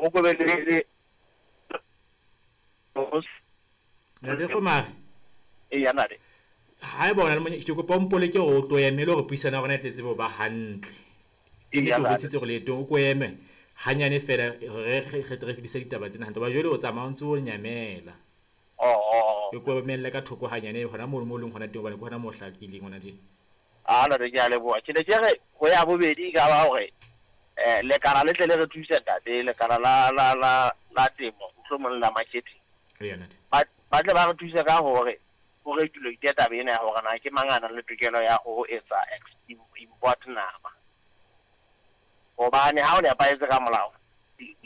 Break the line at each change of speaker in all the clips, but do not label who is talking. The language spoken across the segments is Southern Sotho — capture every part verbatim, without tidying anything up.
Ho ko be le
Ntate Kgomari.
Eya ntate.
Haeba o na le monyetla, ke kopa o mpoleke hore o tlo eme le hore puisano ya rona e tle tsebe ho ba hantle. Ke ne ke o bontshitse hore leetong o ko eme hanyane feela hore re re tle re fetise ditaba tsena hantle. Hoba jwale o tsamaya o ntso o nyamela.
Oh.
Ke ko emelle ka thoko hanyane hona mono mo leng hona teng hobane ke hona moo o hlakileng hona teng.
Ah ntate, ke a leboha. Ke ne ke re ho ya bobedi e ka ba hore eh lekala le tle le re thuse ntate, lekala la la la la temo, mohlomong la marketing.
Eya ntate.
Ba ba tle ba re thuse ka hore ho regulate taba ena ya hore na ke mang a nang le tokelo ya ho etsa import nama. Hobane ha o nepahetse ka molao,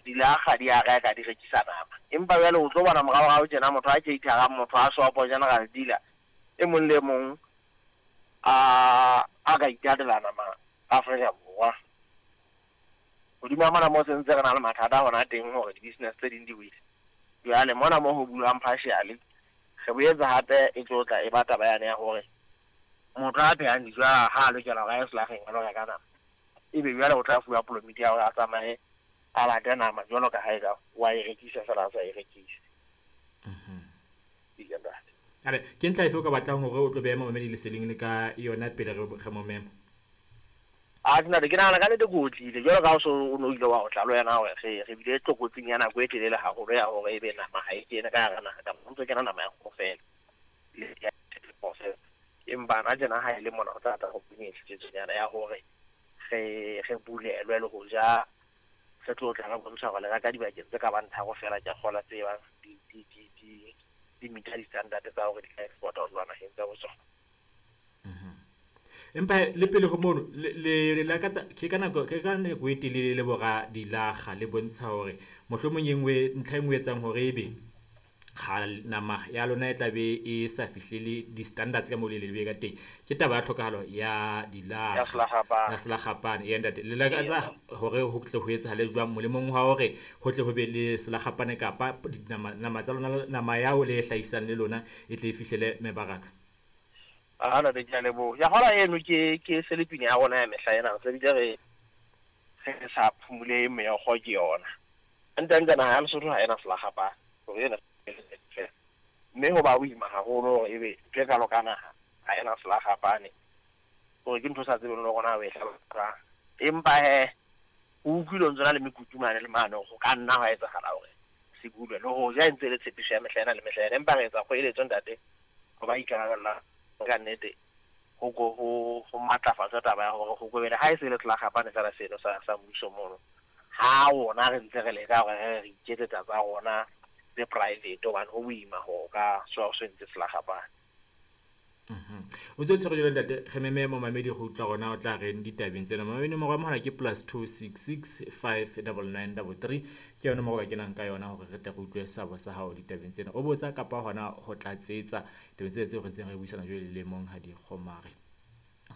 dilakga di a reka di rekisa nama. Empa jwale o tlo bona moraorao tjena motho a cater-ang, motho a shopo, general dealer, e mong le e mong a a ka itatela nama Afrika Borwa. Hodima mona mo sentse re na le mathata hona teng hore di-business tse ding di wele. Jwale mona mo ho bulwang partially, re boetse hape e tlo tla e ba taba yane ya hore motho a phehang dijo ha a lokela hore a ye selakgeng a lo reka nama. Ebe jwale o tla fuwa polomiti ya hore a tsamaye a late nama jwalo ka ha eka wa e rekisa feela a sa e rekise. Eya ntate.
Are ke ntlha efe o ka batlang hore o tlo beha momamedi leseding le ka yona pele re re mo mema?
Ah ntate, ke nahana ka nnete ke otlile jwalo ka ha o so o no ile wa otla le wena hore re re bile tlokotsing ya nako e telele haholo ya hore ebe nama ha e kene ka hara naha kapa ho ntso kena nama ya kgoho feela le ya process. Empa hana tjena ha e le mona ho tla tla ho nyana ya hore re re bulelwe le ho ja re tlo tla re bontsha hore le reka dibakeng tse ka bang tharo feela ke a kgolwa tse bang di di di di di meet-a di-standard tsa hore di ka export-a ho tloha naheng tsa bo tsona.
Empa le pele ho mono le le lakatsa ke ka nako ke ka nako e telele le bora dilakga le bontsha hore mohlomong e nngwe ntlha e nngwe e etsang hore ebe ha nama ya lona e tla be e sa fihlele di-standards ka moo le le ka teng. Ke taba ya tlhokahalo ya
Ya
dilakga
selakgapane.
ya selakgapane. Eya ntate, le lakatsa hore ho tle ho etsahale jwang molemong wa hore ho tle ho be le selakgapane kapa dinama nama tsa lona nama yao le e hlahisang le lona e tle e fihlele mebaraka?
Ah ntate, ke a leboha. Ya hola eno ke ke selepine ya rona ya mehla ena, re bile re re sa phumule meokgo ke yona. Hantle-hantle naha ya Lesotho ha ena selakgapane hore ena feela. Mme ho ba boima haholo hore ebe ntho e kalo ka naha ha ena selakgapane hore ke ntho o sa tsebeng le hore na o e hlalosa. Empa hee ho utlwile ho ntso na le mekutu mane le mane hore ho ka nna hwa etsahala hore se bulwe. Le hoja e ntse e le tshepiso ya mehla ena le mehla ena, empa re etsa kgoeletso ntate ho ba ikarabellang ka nnete ho ko ho ho matlafatswe taba ya hore ho ko be le ha e se le selakgapane feela seno sa sa mmuso mono. Ha rona re ntse re leka hore re re iketsetsa tsa rona tse private hobane ho boima hore o ka so o entse selakgapane.
O ntse o tshwere jwalo ntate, re meme momamedi go utlwa rona o tla reng ditabeng tsena. Momamedi nomoro ya mohala ke plus two six six five double nine double three. Ke yona nomoro o ka kenang ka yona hore re tle re utlwe seabo sa hao ditabeng tsena. O botsa kapa hona ho tlatsetsa tabeng tsena tseo re ntseng re buisana jwale le Monghadi Kgomari.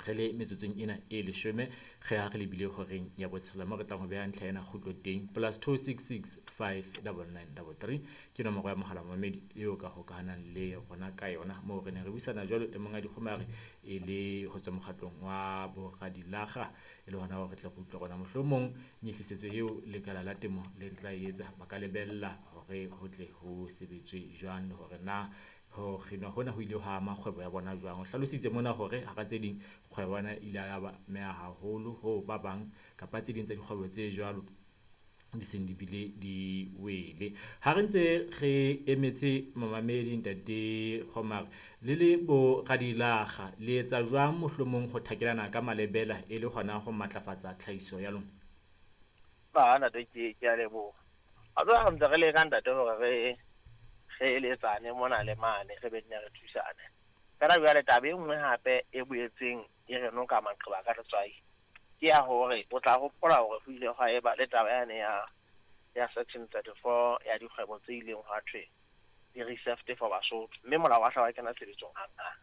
Re le metsotsong ena e leshome re ha re lebile horeng ya botshelela moo re tlang ho beha ntlha ena kgutlo teng. Plus two six six five double nine double three ke nomoro ya mohala momamedi eo ka hokahanang le rona ka yona moo re ne re buisana jwalo le Monghadi Kgomari e le ho tswa mokgatlong wa Boradilakga e le hona hore re tle re utlwe rona mohlomong nyehlisetso eo lekala la temo le tla e etsa ba ka lebella hore ho tle ho sebetswe jwang le hore na ho kginwa hona ho ile hwa ama kgwebo ya bona jwang. O hlalositse mona hore hara tse ding kgwebo ya bona e ile ya ba ameha haholo ho ba bang kapa tse ding tsa dikgwebo tse jwalo di seng di bile di wele. Ha re ntse re emetse momamedi ntate Kgomari le le boradilakga le etsa jwang mohlomong ho thakelana ka malebela e le hona ho matlafatsa tlhahiso ya lona?
Ah ntate, ke ke a leboha. Wa tseba re ntse re leka ntate hore re re eletsane mona le mane re be nne re thusane. Feela jwale taba e nngwe hape e boetseng e re noka maqeba ka letswai ke ya hore o tla hopola hore ho ile hwa eba le taba yane ya ya section thirty-four ya dikgwebo tse ileng hwa thwe di reserved for Basotho, mme molao wa hla wa kena tshebetsong hanghang.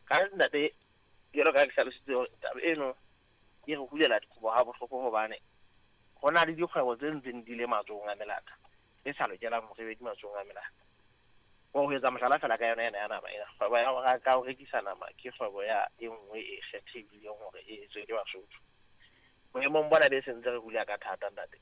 Ka ntate, jwalo ka ha ke hlalositse hore taba eno e re hulela dikobo ha bohloko hobane ho na le dikgwebo tse ntseng di le matsohong a melata e sa lokelang hore e be di matsohong a melata. Ho etsa mohlala feela ka yona ena ya nama ena, kgwebo ya ho reka ho rekisa nama ke kgwebo ya e nngwe e kgethehileng hore e etswe ke Basotho. Boemong bona be sentse re hula ka thata ntate.